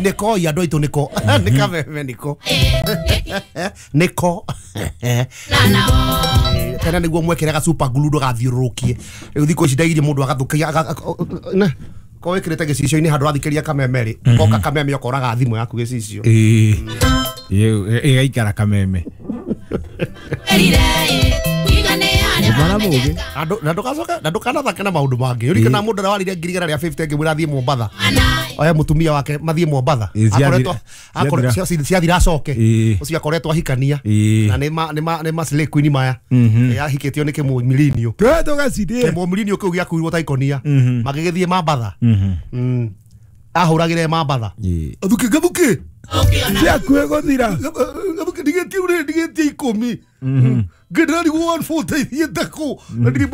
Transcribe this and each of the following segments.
Nĩko andũ aitũ nĩko nĩ kameme nĩko nĩko tena nĩguo mwekere ga super glue ndũgathiũrũrũkie. Rĩu thikũ ici ndaigirie mũndũ agathũkia ko wĩkĩrĩte gĩcicio-inĩ handũ wathikĩria kameme rĩ koka kameme ũkoraga thimũ yaku gĩcicio. Ĩgaikara kameme. Na ndũgacoke na ndũkanathake na maũndũ mangĩ. Ũririkana mũndũ ũrĩa warire 150 ngĩmwĩra athiĩ Mombatha. Oya mũtumia wake mathiĩ Mombatha. Akoretwo ciathira acoke. Ũcio akoretwo ahikania. Na nĩ ma slay queen maya. Ahikĩtio nĩ kĩmũmirinio. Kĩmũmirinio kĩu gĩakuirwo ta ikonia. Magĩgĩthiĩ Mombatha. Ahũragĩre Mombatha. Gathuki gathuki. Ciakuhĩ gũthira. Gathuki ndigĩtie ũrĩ ndigĩtie 10. Ngĩndĩrarigwo 140 thiĩte kũ na ndirĩ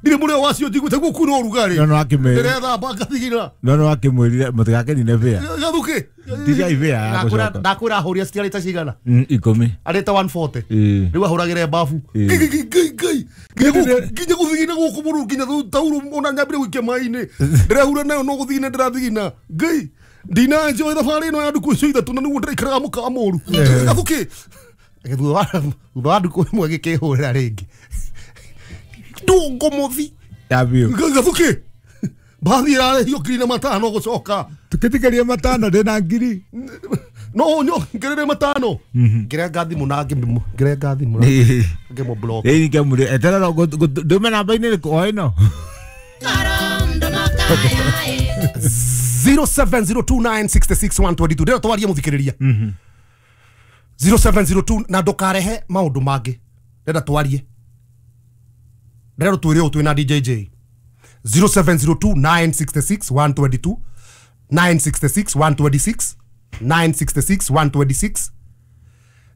mũrĩo wacio njiguĩte guo kwĩna ũrugarĩ. Ndĩrethamba ngathigina. No no akĩmwĩrire mũtigakenine bĩa. Gathuki. Tigai bĩa ya gũcoka. Ndakwĩra ahũrire citiarĩte cigana? 10. Arĩte 140. Rĩu ahũragĩre bafu. Ngai ngai nginya gũthigina gũkũ mũno nginya taurũ ona nyambire gũikia maĩ-inĩ. Ndĩrehura nayo no gũthigina ndĩrathigina. Ngai ndina enjoy thabarĩ ĩno ya ndukũ icio ithatũ na nĩguo ndĩraikaraga mũkawa mũru. Gathuki. Thutha wa ndukũ ĩmwe gĩkĩhũrĩra rĩngĩ. Ndũngũmũthi. Gathuki. Mbathi ĩrarĩhio 5,000 gũcoka. Tũkĩtĩkĩrie 5 ndĩna 1,000. No ngerere 5. Ngĩrenga thimũ na ngĩrenga thimũ na ngĩmũ block. Ĩĩ ngĩmũrĩ eterera ndume namba-inĩ ĩrĩkũ o ĩno. 0702966 122 ndĩrenda twarie mũthikĩrĩria. 0702 na ndũkarehe maũndũ mangĩ. Ndĩrenda twarie. Ndĩrenda twĩre ũũ twĩna DJJ. 0702 966 122 966 126 966 126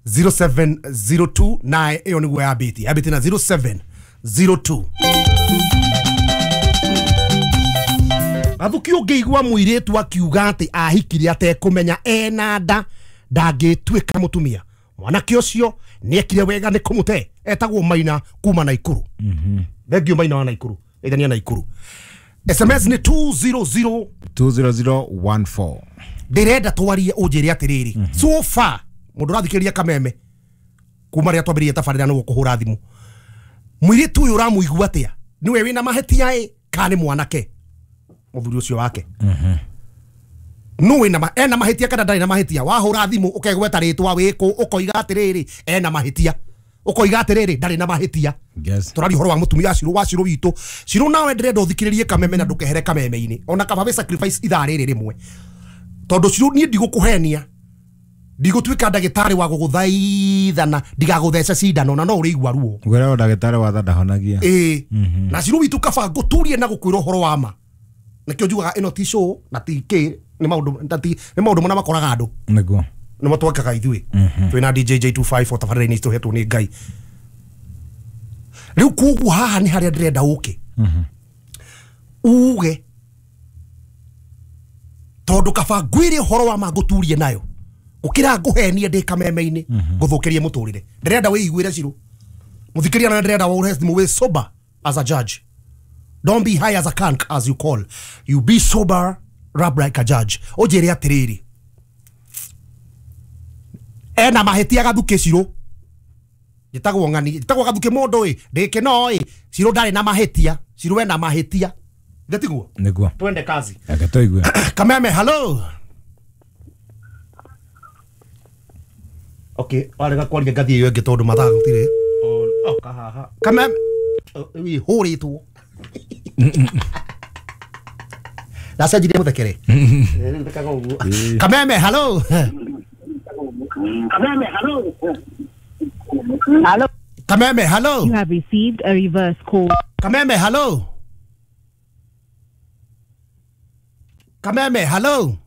0702 9 ĩyo nĩguo yambĩtie. Yambĩtie na 0702. Gathuki ũngĩigua mũirĩtu akiuga atĩ ahikire atekũmenya ena nda ndangĩtuĩka mũtumia. Mwanake ũcio nĩekire wega nĩ kũmũte. Etagwo Maina kuma Naikuru. Thengiũ Maina wa Naikuru. Ithania Naikuru. SMS nĩ 200 20014. Ndĩrenda twarie ũnjĩre atĩrĩrĩ. So far mũndũ ũrathikĩrĩria kameme kuma rĩrĩa twambĩrĩirie tabarĩra nĩguo kũhũra thimũ. Mũirĩtu ũyũ ũramũigua atĩa? Nĩwe wĩna mahĩtia ĩ kana nĩ mwanake? Mũthuri ũcio wake. No wĩna ena mahĩtia kana ndarĩ na mahĩtia? Wahũra thimũ ũkegweta rĩtwa wĩkũ ũkoiga atĩrĩrĩ ena mahĩtia. Ũkoiga atĩrĩrĩ ndarĩ na mahĩtia. Tũraria ũhoro wa mũtumia Cirũ wa Cirũ witũ. Cirũ nawe ndĩrenda ũthikĩrĩrie kameme na ndũkehere kameme-inĩ. Ona kaba wĩ sacrifice ithaa rĩrĩ rĩmwe. Tondũ Cirũ niĩ ndigũkũhenia. Ndigũtuĩka ndagĩtarĩ wa gũgũthaithana ndigagũthece cindano na no ũrĩigua ruo. Ngwĩra ndagĩtarĩ wa tha ndahonagia. Ĩĩ. Na Cirũ witũ kaba ngũturie na gũkwĩra ũhoro wa ma. Nĩkĩo njugaga ĩno ti show na ti kĩ nĩ maũndũ mana makoraga andũ. Nĩguo. Nĩmo twekaga ithuĩ. Twĩna DJJ 254 tabarĩra-inĩ tũhetwo nĩ Ngai. Rĩu koguo haha nĩ harĩa ndĩrenda ũke. Uge tondũ kaba ngwĩre ũhoro wa ma ngũturie nayo. Gũkĩra ngũhenie ndĩ kameme-inĩ ngũthũkĩrie mũtũrĩre. Ndĩrenda wĩiguĩre Cirũ. Mũthikĩria na ndĩrenda ũhe thimũ wĩ sober as a judge. Don't be high as a conch as you call. You be sober, rap like a judge. Ũnjĩre atĩrĩrĩ. Ena mahĩtia Gathuki Cirũ. Njĩtagwo ng'ani, njĩtagwo Gathuki mũndũ ĩ, ndĩkĩno ĩ, Cirũ ndarĩ na mahĩtia, Cirũ ena mahĩtia. Ithe tiguo? Nĩguo. Twende kazi. Reke tũigue. Kameme, hello. Okay, warega kwaria ngathiĩ ĩyo ĩngĩ tondũ mathaa gũtirĩ. Oka haha. Kameme, hũrĩtwo. Ndacenjirie mũthekere. Rĩu ũguo. Kameme, hello. Kameme, hello. Hello. Kameme, hello. You have received a reverse call. Kameme, hello. Kameme, hello.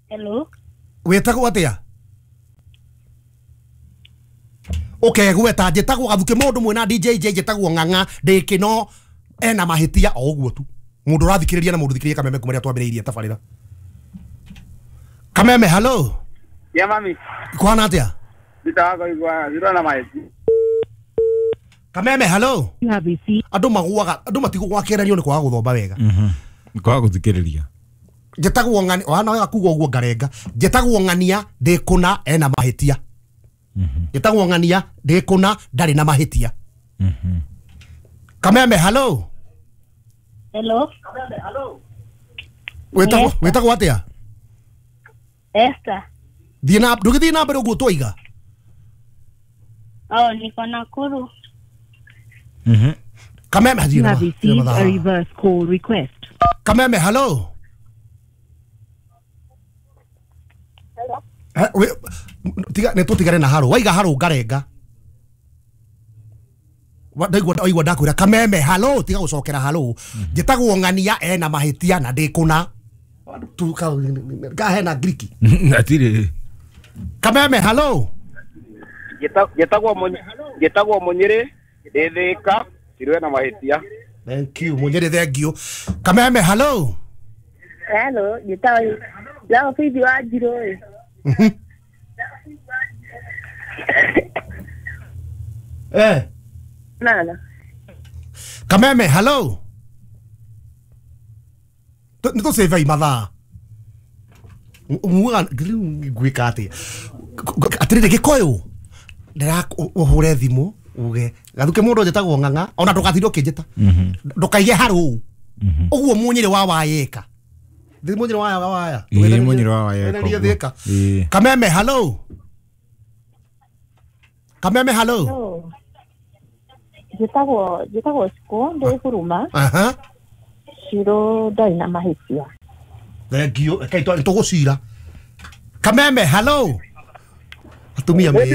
Hello. Wĩtagwo atĩa? Ũkegweta njĩtagwo Gathuki mũndũ mwĩna DJJ njĩtagwo Ng'ang'a ndĩkĩno ena mahĩtia o ũguo tu. Mũndũ ũrathikĩrĩria na mũndũ thikĩrĩria kameme kuma rĩrĩa twambĩrĩirie tabarĩra. Kameme, hello. Ya mami. Kũhana atĩa? Kameme, hello. You have received. Andũ magũaga, andũ matigũgwa kĩgeranio nĩ kwaga gũthoma wega. Kwaga gũthikĩrĩria. Njĩtagwo ng'ania wana wega kuga ũguo ngarenga. Njĩtagwo ng'ania ndĩ kũna ena mahĩtia. Njĩtagwo ng'ania ndĩ kũna ndarĩ na mahĩtia. Kameme hello. Hello. Wĩtagwo wĩtagwo atĩa? Esther. Thiĩ na ndũgĩthiĩ na mbere ũguo twaiga. Oh, niko Nakuru. Kameme You thiĩ na have thiĩ na received a mathaa. reverse call request. Kameme hello. Tiga nĩ tũtigane na haro waiga haro ngarenga. Ndaigua ndaigua ndakwĩra Kameme halo tiga gũcokera halo. Njĩtagwo ng'ania ena mahĩtia na ndĩ kũna. Tu kahena Griki. Atirĩ. Kameme halo. Njĩtagwo Mũnyĩrĩ ndĩ Thĩka Cirũ ena mahĩtia. Thank you Mũnyĩrĩ, thank you. Kameme hello. Hello, njĩtagwo Lao Faith wa Njirũ. Eh. Nana. Kameme hello. Nĩ tũcĩvei mathaa. Muga ngwĩka atĩa? Atĩrĩrĩ Gĩkũyũ ndĩra ũhũre thimũ uge gathuke mũndũ njĩtagwo ng'ang'a ona ndũgatinde ũkĩnjĩta ndũkaige harũ ũguo Mũnyĩrĩ wa Wayeka. Thĩ Mũnyĩrĩ wa Waya. Ĩĩ, Mũnyĩrĩ wa Wayeka Ndũgererie ũguo. Thĩka. Ĩĩ. Kameme hello. Kameme hello. Hello. Njĩtagwo Cikũ ndĩ Huruma. Aha. Cirũ ndarĩ na mahĩtia. Thank you. Rekei tũgũcira. Kameme hello. Atumia me.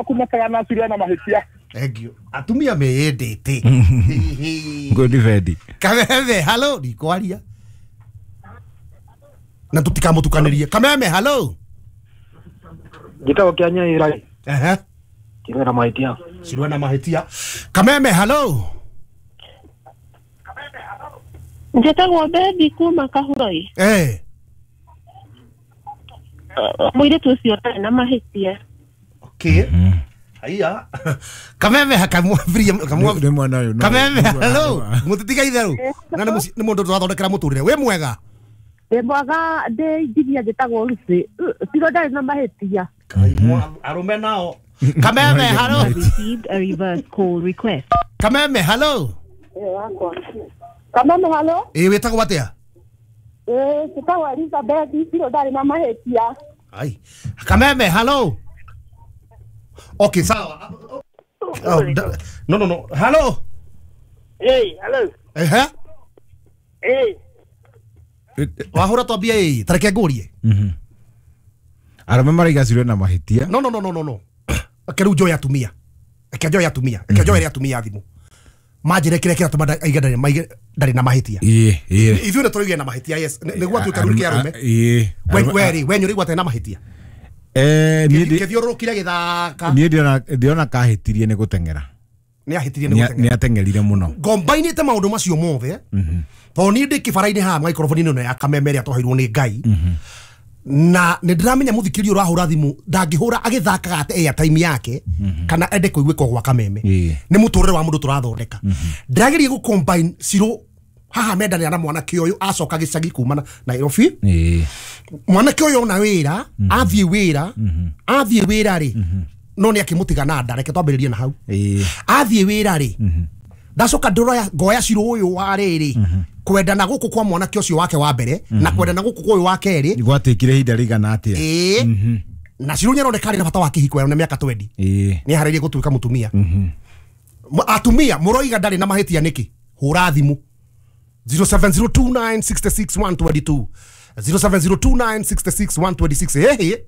Kumekana Cirũ ena mahĩtia. Thank you. Atumia meyendete. Ngũ defend. Kameme hello ndikwaria. Na tũtikamũtukanĩrie. Kameme hello. Njĩtagwo Kĩanyaĩra Ehe. Cirũ ena mahĩtia. Cirũ ena mahĩtia. Kameme hello. Njĩtagwo Bebi kuma Kahuroi. Eh. Mũirĩtu ũcio ndarĩ na mahĩtia. Okay. Haiya. Kameme hakamwambia kamwambia Nĩ mwana ũyũ no- Kameme hello. Mũtitiga itherũ. Na nĩ mũndũ tũrathondekera mũtũrĩre. Wĩ mwega. Ndĩ mwega ndĩ injinia njĩtagwo Lucy. Cirũ ndarĩ na mahĩtia. Arũme nao. Kameme hello. Received a reverse call request. Kameme hello. Kameme hello. Ĩ wĩtagwo atĩa? Eh, njĩtagwo Elizabeth Cirũ ndarĩ na mahĩtia. Ai. Kameme hello. Okay, sawa. Oh, no no no. Hello. Hey, hello. Ehe. Hey. Wahũra twambie ĩ tareke ngũrie. Arũme maraiga Cirũ ena mahĩtia. No no no no no no. Reke rĩu njoe atumia. Reke njoe atumia. Reke njoe atumia thimũ. Manjĩre kĩrĩa kĩratũma aige ndarĩ na mahĩtia. Ĩĩ, ĩĩ. Ithuĩ nĩ tũraigire na mahĩtia yes. Nĩguo atuĩka rĩu kĩa arũme. Ĩĩ. We rĩ, we nĩũraigua atarĩ na mahĩtia. Niĩ ndi- Kĩthiũrũrũkire gĩthaka. niĩ ndĩrona kahĩtirie nĩ gũteng'era. Nĩ ahĩtirie nĩ Nĩ gũteng'era. ateng'erire mũno. Ngombainĩte maũndũ macio mothe tondũ niĩ ndĩ kĩbara-inĩ haha microphone-inĩ ĩno ya Kameme ĩrĩa twaheirwo nĩ Ngai na nĩ ndĩramenya mũthikĩria ũrahũra thimũ ndangĩhũra agĩthakaga ate airtime yake kana ende kũiguĩka gwa Kameme. Ĩĩ. Nĩ mũtũrĩre wa mũndũ tũrathondeka. Ndĩrageria gũ combine Cirũ haha mendanĩra na mwanake ũyũ acoka gĩcagi kuma na Nairobi. Ĩĩ. Mwanake ũyũ ona wĩra athiĩ wĩra athiĩ wĩra rĩ no nĩ akĩmũtiga na nda reke twambĩrĩrie na hau. Ĩĩ. Athiĩ wĩra rĩ ndacoka ndĩroya ngoya Cirũ ũyũ wa rĩrĩ kwendana gũkũ kwa mwanake ũcio wake wa mbere na kwendana gũkũ kwa ũyũ wa kerĩ. Gwatĩkire ihinda rĩigana atĩa? Ĩĩ. Na Cirũ nĩaroneka arĩ na bata wa kĩhiko na mĩaka 20. Ĩĩ. Nĩ aharĩirie gũtuĩka mũtumia. Atumia mũroiga ndarĩ na mahĩtia nĩkĩ? Hũra thimũ 0702966122 0702966126. Hehe.